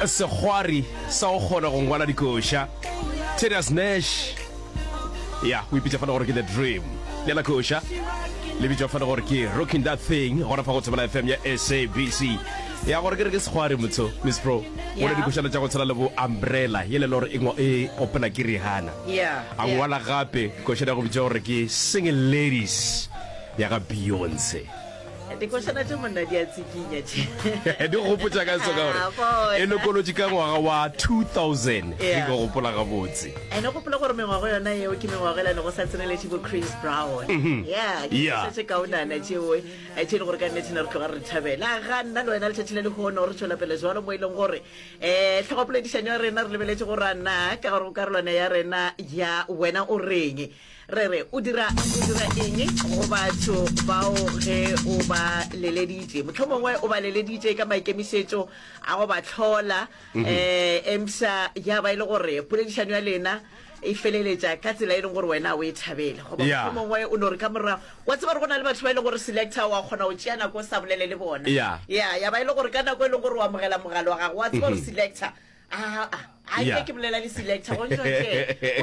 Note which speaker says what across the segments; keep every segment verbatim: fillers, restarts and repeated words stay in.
Speaker 1: Sekgwari sa go kgona go ngwala dikoša, Tedious Nash, ya o ipitša fana gore ke The Dream. Le la koša le bitšwa fana gore ke Rocking That Thing, gona fa go Thobela F M ya S A B C. Ya gore ke re ke sekgwari motho, Miss Pro.
Speaker 2: Yeah.
Speaker 1: Ngwala dikošana tša go tshwana le bo Umbrella, yele le gore e ngwa- e opela ke Rihanna.
Speaker 2: Yeah,
Speaker 1: A
Speaker 2: yeah.
Speaker 1: ngwala gape košana ya go bitša gore ke Single Ladies ya ga Beyonce.
Speaker 2: Dikošana tše monna di a tsikinya tše.
Speaker 1: Di gopotša ka so ka gore
Speaker 2: Ah, bona.
Speaker 1: e lokolotše ka ngwaga wa two thousand, ge
Speaker 2: Yeah.
Speaker 1: ke gopola gabotse.
Speaker 2: Ene gopola gore mengwago yona eo ke mengwago e lane go sa tseneletše bo Chris Brown. Yeah, ke
Speaker 1: Yeah.
Speaker 2: dikoša tše kaonana tšeo, eh, tše e le gore ka nnete ne re tloga re di thabela. Ga nna le wena letšatši le lehono re tšwela pele jalo mo e leng gore um tlhogopoledišanyo ya rena re lebeletše gore a na ka gore go karolwana ya rena ya Wena o Reng, re re o dira o dira eng go batho bao ge o ba leleditše, mohlomongwe o ba leleditše ka maikemišetšo a go ba hlola, um emsa ya ba e le gore poledišano ya lena e feleletša ka tsela e leng gore wena o e thabele, goba
Speaker 1: Yeah.
Speaker 2: mohlomongwe o no re ka morago wa tseba gore go na le batho ba e leng gore, selector, wa kgona go tšea nako o sa bolele le bona.
Speaker 1: Yeah.
Speaker 2: Ya ya ba e le gore ka nako e leng gore o amogela mogala wa gago, wa tseba gore selector a a a
Speaker 1: Yeah.
Speaker 2: nke ke bolela le selector go ntšo gore e e- e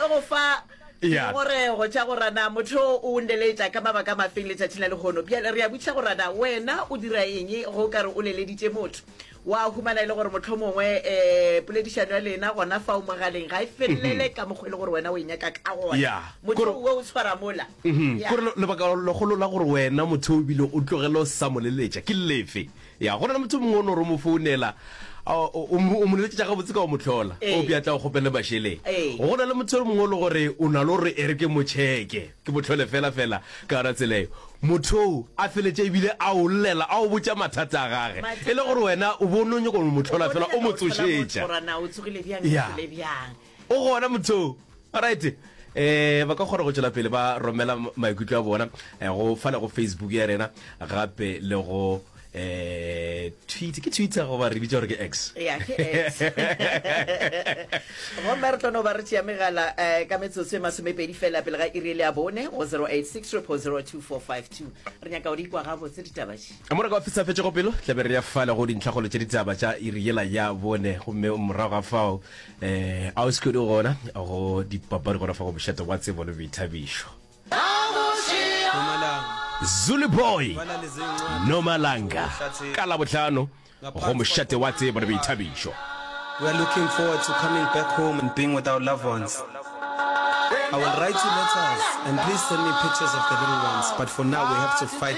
Speaker 2: go fa
Speaker 1: Yeah.
Speaker 2: ngongorego tša go rana motho o nleletša ka mabaka a mafeng letšatši la lehono. Bjale re a botšiša go rana wena o dira eng go ka re o leleditše motho, wa humana e le gore motlho mongwe um poledišano ya lena gona fa o mogaleng ga e felelele ka mokgwa e le gore wena o e nyaka ka gona.
Speaker 1: Yeah.
Speaker 2: Motho
Speaker 1: Kore-
Speaker 2: o o tshwara mola.
Speaker 1: Mhm.
Speaker 2: Yeah.
Speaker 1: Kore le- lebaka legolo la gore wena motho o bile o tlogele o sa mo leletša ke lefe? Ya go na le motho mongwe o no re o mo founela, a, o o mo o mo leletša gabotse ka o mo hlola,
Speaker 2: Ee.
Speaker 1: o bja tla o kgopele mašeleng.
Speaker 2: Ee.
Speaker 1: Go na le motho o mongwe o le gore o na le gore e re ke mo cheke, ke mo hlole fela fela ka yona tsela eo, motho oo a feletše ebile a o llela, a o botša mathata a gage,
Speaker 2: Mathata.
Speaker 1: e le gore wena o bo o no nyaka go mo hlola fela, o mo tsošetša.
Speaker 2: Gore na o tsogile bjang,
Speaker 1: Yeah.
Speaker 2: o tsogile bjang.
Speaker 1: O gona motho. Alright, eh ba ka kgona go tšwela pele ba romela maikutlo a bona eh, go fale go Facebook ya rena, gape le go eh Twitter, ke Twitter goba re bitša gore ke X?
Speaker 2: Ya, ke X. Gomme re tlo no ba re tšea megala um ka metsotso e masomepedi fela pele ga iri le ya bone go zero eight six triple zero two four five two. Re nyaka go di kwa gabotse ditaba tše.
Speaker 1: Mo re ka sa fetšego pelo, tlabe re ya fale go dintlhagolo tša ditaba tša iri yela ya bone, gomme morago ga fao eh a o se gona go dipapadi gona fa go Mošate wa Tsebo le Boithabišo. Zulu Boy, Nomalanga, ka Labohlano go Mošate wa Tsebo le Boithabišo.
Speaker 3: We are looking forward to coming back home and being with our loved ones. I will write you letters and please send me pictures of the little ones. But for now, we have to fight.